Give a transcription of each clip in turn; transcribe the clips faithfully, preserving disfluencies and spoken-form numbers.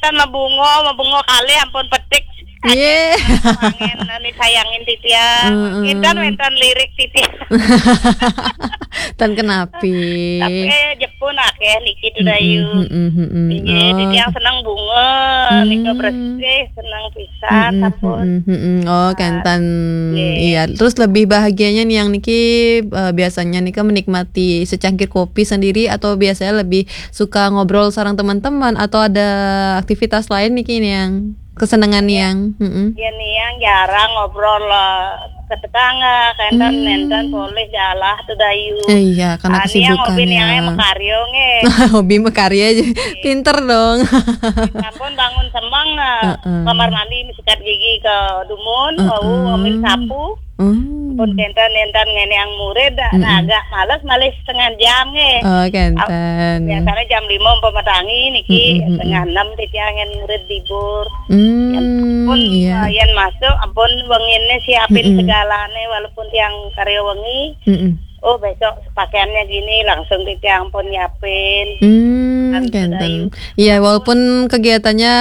Tan mabunga, mabunga kalih ampun petik. Nggih. Angin, anu, sayangin titiang. Heeh. Kinten wénten lirik titiang. Tan kenapi. Tapi, eh, Jepun akéh niki, Tudayu. Mm-mm, mm-mm, mm-mm. Nggih, oh, titiang seneng bunga, hmm, nika bersih, seneng pisan, hmm, sampun. Hmm, hmm, hmm. Oh, ah, kenten. Nggih. Iya, terus lebih bahagianya nih yang niki, eh, biasanya nika menikmati secangkir kopi sendiri atau biasanya lebih suka ngobrol sareng teman-teman atau ada aktivitas lain niki nih yang kesenangan, iya, nih yang? Mm-mm. Iya nih yang jarang ngobrol, eh, ke tetangga, kenten, hmm, nenten polih galah, Tudayu. Eh, iya, karena ah, nih yang hobi nih yang kesibukannya. Makarya nggih. Hobi makarya aja. Iya. Pinter dong. Sampun bangun semeng, eh, heeh, kamar mandi sikat gigi ke dumun, heeh, wau ngambil sapu. Hmm. Pun kenten-kenten ngene yang murid, mm-mm, agak males malih setengah jam nggih. Oh, kenten. Biasanya jam lima umpama tangi niki, mm-mm, mm-mm, setengah enam titiang yang murid libur. Hmm, pun, iya, eh, yen masuk, ampun wengine siapin, mm-mm, segalane, walaupun tiang karya wengi. Mm-mm. Oh, besok pakaiannya gini, langsung titiang pun nyiapin. Hmm, kenten. Iya, walaupun kegiatannya,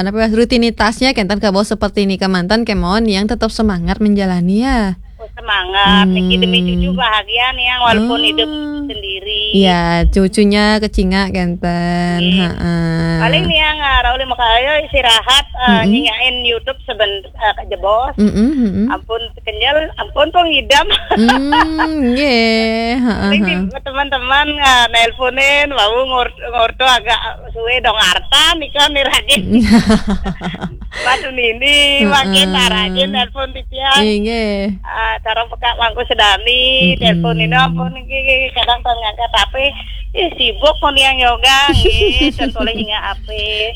eh, apa, rutinitasnya kenten kabaos seperti ini kemanten, kemawon yang tetap semangat menjalani ya. Oh, semangat. Hmm. Niki demi cucu bahagia nih yang walaupun, oh, hidup sendiri. Iya, cucunya kecingak kenten. Iya. Heeh. Paling nih yang, ah, Raul maka ayo istirahat, eh, mm-mm, nyingain YouTube sebentar, eh, kejebos. Mm-mm, mm-mm. Ampun kenyel, ampun pengidam. Hmm, nggih. Heeh, paling di, heeh, teman-teman, eh, nelponin, wau ngur-, ngurtu agak suwe dong artan, nika nih rajin. Batu nini, heeh, makin rajin nelpon titiang. Inggih. Ah, cara pekak mangku sedani, mm-mm, telepon ini ampun niki kadang tong ngangkat H P. Ih, sibuk pun yang yoga, nggih, dan boleh ingat H P.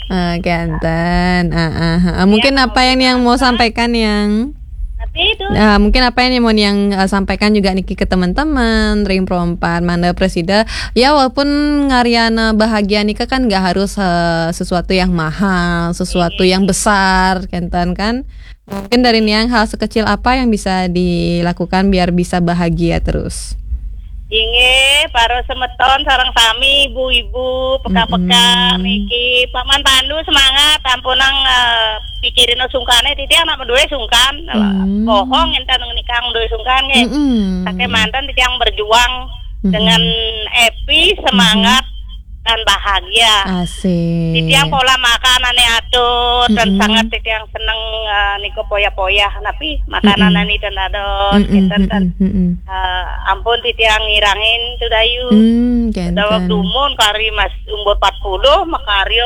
Ah, kenten. Ah, ah, ah. Iya, mungkin apa yang, yang mau sampaikan yang? Tapi itu. Ah, mungkin apa yang mau yang, eh, sampaikan juga niki ke teman-teman, ring perompat, mana presida. Ya, walaupun ngariana bahagia nika kan nggak harus, eh, sesuatu yang mahal, sesuatu, iya, yang besar, kenten kan. Mungkin dari niang hal sekecil apa yang bisa dilakukan biar bisa bahagia terus? Inggih, para semeton sareng sami ibu-ibu, peka-peka, mm-mm, niki Paman Pandu semangat, ampunang, eh, pikirin sungkane titiang nak duwe sungkan. Hmm. Bohong enten nikang duwe sungkan nggih. Mm-mm. Saking manten titiang berjuang, mm-mm, dengan happy, semangat, mm-mm, dan bahagia. Asik. Titiang pola makan ane atur dan, mm-mm, sangat titiang seneng, eh, niku poyah-poyah, tapi makanan, mm-mm, ane dan dados, mm-mm, kenten, mm-mm, mm-mm, eh, ampun titiang ngirangin Tudayu. Hmm, kenten. Daweg dumun kari mas umur empat puluh, makarya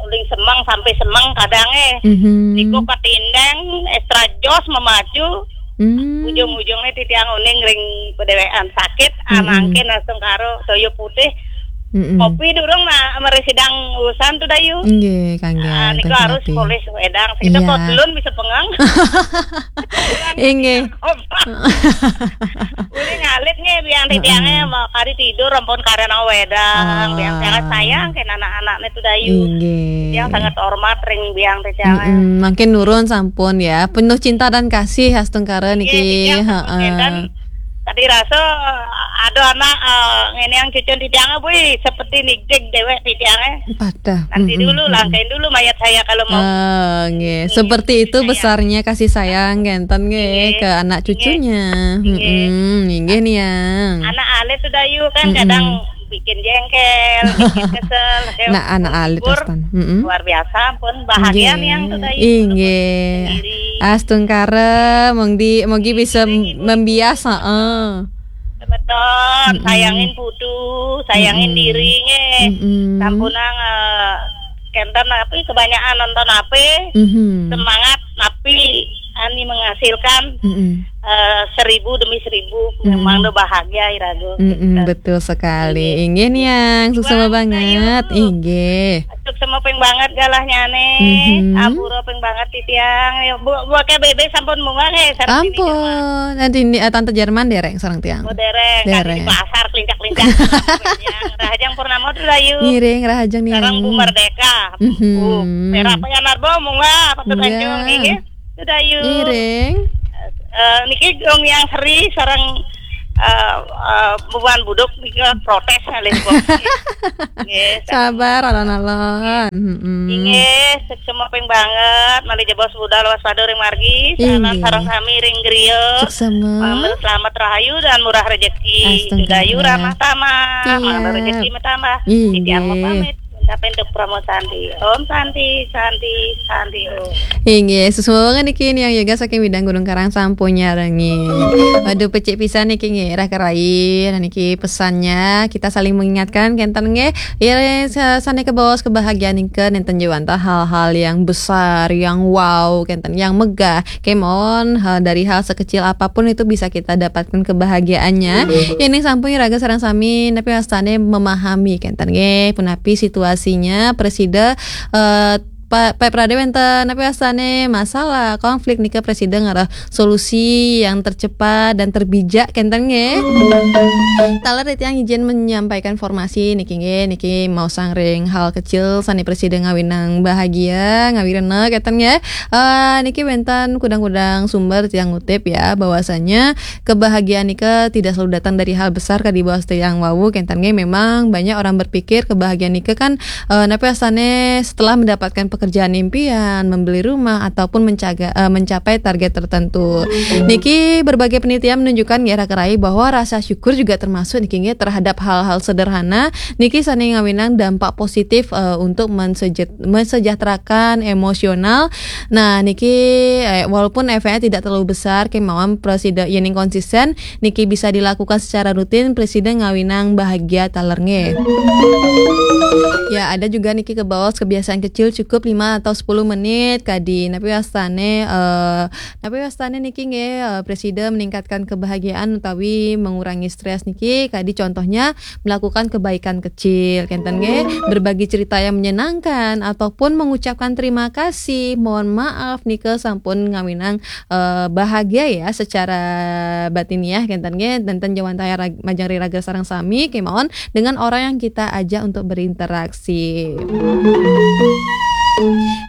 uling semeng sampai semeng kadang eh. Mhm. Niku ketindeng, extra jos memacu, hmm, ujung-ujungnya titiang uning ring pedewean sakit, mm-mm, anangkin langsung karo toyo putih. Mm-mm. Kopi durung na, mari sidang urusan Tudayu. Nggih, kangge. Ah, niku harus polih wedang. Kita, iya, kok belum bisa pengang. Inggih. Uling alit nggih, biang titiange, heeh, mau kari tidur, ampun karena wedang. Ah. Biang sangat sayang kan anak-anaknya Tudayu. Inggih. Yang sangat hormat ring biang titiange. Mm-mm, makin nurun sampun ya. Penuh cinta dan kasih astungkara niki. Inggih, inggih, heeh. Tadi rasa, eh, ada anak, eh, ngene yang cucun titiange, wih, seperti nigdig dewek titiange. Padah. Nanti, mm-mm, dulu, mm-mm, langkain dulu mayat saya kalau mau. Ah, nggih. Nggih, seperti itu sayang. Besarnya kasih sayang, kenten nggih, nggih, ke anak cucunya. Nggih. Mm-mm, nggih, niang. Anak alit Tudayu kan, mm-mm, kadang bikin jengkel, bikin kesel. Nah, anak alit, libur, Astan. Mm-mm. Luar biasa, pun bahagia, nggih, niang Tudayu. Inggih. Astungkara, mongdi, mogi bisa, nggih, membiasa, eh. Betul, mm-mm, sayangin putu, sayangin, mm-mm, diri nggih. Mm-mm. Sampunang, eh, kenten tapi kebanyakan nonton H P, mm-hmm, semangat tapi ani menghasilkan, mm-mm, eh, seribu demi seribu. Mm-mm. Memang do bahagia irago. Mm-mm, kenten. Betul sekali. Iya. Inggih niang, suksema banget. Inggih. Suksema ping banget galahnyane. Mhm. Ampura ping banget titiang. Ya, Bu, Bu K B B sampun munggah nggih, sareng tini Jerman. Ampun. Nanti ini, eh, Tante Jerman dereng sareng tiang. Oh, dereng. Dereng. Tadi di pasar kelincak-kelincak. Rahajeng Purnama Tudayu. Ngiring, rahajeng niang. Sareng Bu Merdeka. Mhm. Bu Pera Payanarbo munggah, patut, iya, anjung nggih. Tudayu. Ngiring. Eh, niki Gung Yang Sri sareng eh, eh, bubuhan buduk nika protes ngalih. Nggih, Sabar alon-alon. Mm-mm. Inggih, suksma ping banget, malih jebos budal waspada ring margi, Inggih. Sareng sami ring griya. Suksma. Pamit selamat rahayu dan murah rezeki. Astungkara. Dayu ramah tamah, Tiap. Mangda rezeki tambah. Inggih. Titiang pamit, ngucapin tuk Parama Santi. Om Santi, Santi, Santi Om. Inggih, suksma banget niki Niang Yoga saking Widang Gunung Karang sampun nyarengin. Waduh, becik pisan niki nggih, Raka Rai. Nah, niki pesannya, kita saling mengingatkan kenten nggih. Ya, sa- sane kebaos kebahagiaan nika nenten jawanta hal-hal yang besar, yang wow kenten, yang megah. Kemon, hal dari hal sekecil apapun itu bisa kita dapatkan kebahagiaannya. Ini sampun raga sareng sami, tapi wastane memahami kenten nggih, punapi situasinya, presida eh, Pak Pak Prade wenten, tapi wastane masalah konflik nika presida ngarah solusi yang tercepat dan terbijak kenten nggih. Taler titiang izin menyampaikan informasi niki nggih, niki maosang ring hal kecil sane presida ngawinang bahagia, ngawirena kenten nggih. Eh, niki wenten kudang-kudang sumber tiang ngutip ya, bahwasanya kebahagiaan nika tidak selalu datang dari hal besar kadi baos tiang wau kenten nggih. Memang banyak orang berpikir kebahagiaan nika kan eh, napi wastane setelah mendapatkan pekerjaan impian, membeli rumah ataupun mencaga, eh, mencapai target tertentu. Niki berbagai penelitian menunjukkan nggih Raka Rai bahwa rasa syukur juga termasuk niki nggih terhadap hal-hal sederhana niki sane ngawinang dampak positif eh, untuk mensejet- mensejahterakan emosional. Nah, niki eh, walaupun efeknya tidak terlalu besar kemawon presida yening konsisten niki bisa dilakukan secara rutin presida ngawinang bahagia taler nggih. Ya, ada juga niki kebaos kebiasaan kecil cukup lima atau sepuluh menit kadi napi wastane eh napi wastane niki nggih eh, presida meningkatkan kebahagiaan utawi mengurangi stres niki kadi contohnya melakukan kebaikan kecil kenten nggih, berbagi cerita yang menyenangkan ataupun mengucapkan terima kasih, mohon maaf nika sampun ngawinang eh, bahagia ya secara batiniah kenten nggih, nenten jawantaya rag- majeng ri raga sareng sami kemawon dengan orang yang kita ajak untuk berinteraksi.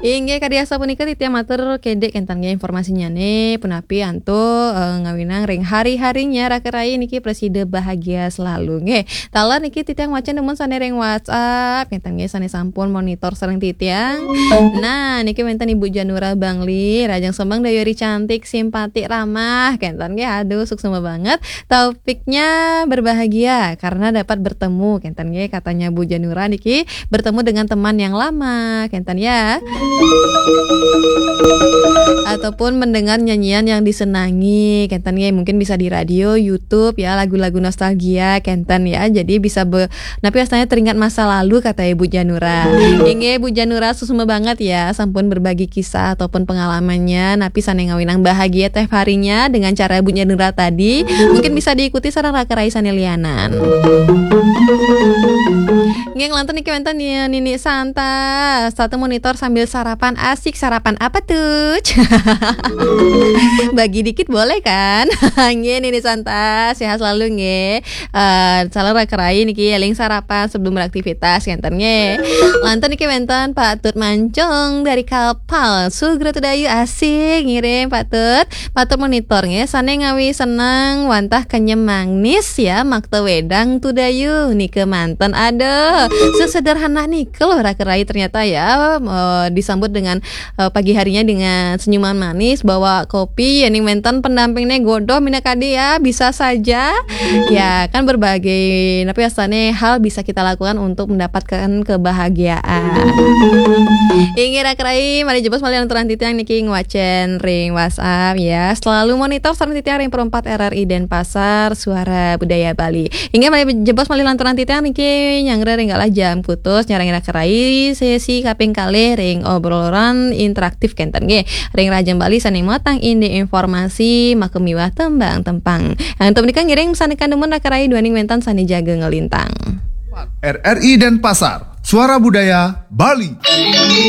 Inggih kadi asapunika titiang matur kedek kenten nggih informasinyane punapi antuk eh, ngawinang ring hari-harinya Raka Rai niki presida bahagia selalu nggih. Taler niki titiang wacen dumun sane ring WhatsApp kenten nggih sane sampun monitor sareng titiang. Nah, niki wenten Ibu Janura Bangli, Rajang Sembang Dayuri cantik, simpati, ramah kenten nggih. Aduh, suksma banget. Topiknya berbahagia karena dapat bertemu kenten nggih katanya Bu Janura niki bertemu dengan teman yang lama kenten ya. Ataupun mendengar nyanyian yang disenangi kenten nggih mungkin bisa di radio, YouTube ya lagu-lagu nostalgia kenten ya. Jadi bisa be napi wastane teringat masa lalu kata Ibu Janura. Inggih Bu Janura suksma banget ya sampun berbagi kisah ataupun pengalamannya napi sane ngawinang bahagia tiap harinya dengan cara Bu Janura tadi. Mungkin bisa diikuti sareng Raka Rai sane lianan. Nggih nglantur niki wenten Ni- Nini Santa. Satu monitor sambil sarapan asik. Sarapan apa tuh? Bagi dikit boleh kan? Nggih Nini Santa, sehat selalu nggih. Eh, salam Raka Rai niki eling sarapan sebelum beraktivitas kenten nggih. Lantur niki wenten Pak Tut Mancung dari Kapal. Sugra Tudayu asik ngiring Pak Tut. Patut monitor nggih, sane ngawi seneng wantah kenyem manis ya, makta wedang Tudayu nika manten. Aduh, sesederhana nika loh Raka Rai ternyata ya, eh, disambut dengan eh, pagi harinya dengan senyuman manis, bawa kopi, yening wenten pendampingne godoh minakadi ya, bisa saja. Ya, kan berbagai napi wastane hal bisa kita lakukan untuk mendapatkan kebahagiaan. Inggih Raka Rai, malih jebos malih lanturang titiang niki ngwacen ring WhatsApp ya. Selalu monitor sareng titiang ring Perempat R R I Denpasar, Suara Budaya Bali. Inggih malih jebos malih lanturang titiang niki nyanggra ring galah jam kutus nyarengin Raka Rai sesi kaping kalih ring obrolan interaktif kenten nggih. Ring Rajang Bali sane matang indik informasi maka miwah tembang tempang. Nah, untuk menika ngiring sane kandumun Raka Rai duaning wenten sane jaga ngelintang. R R I Denpasar, Suara Budaya Bali.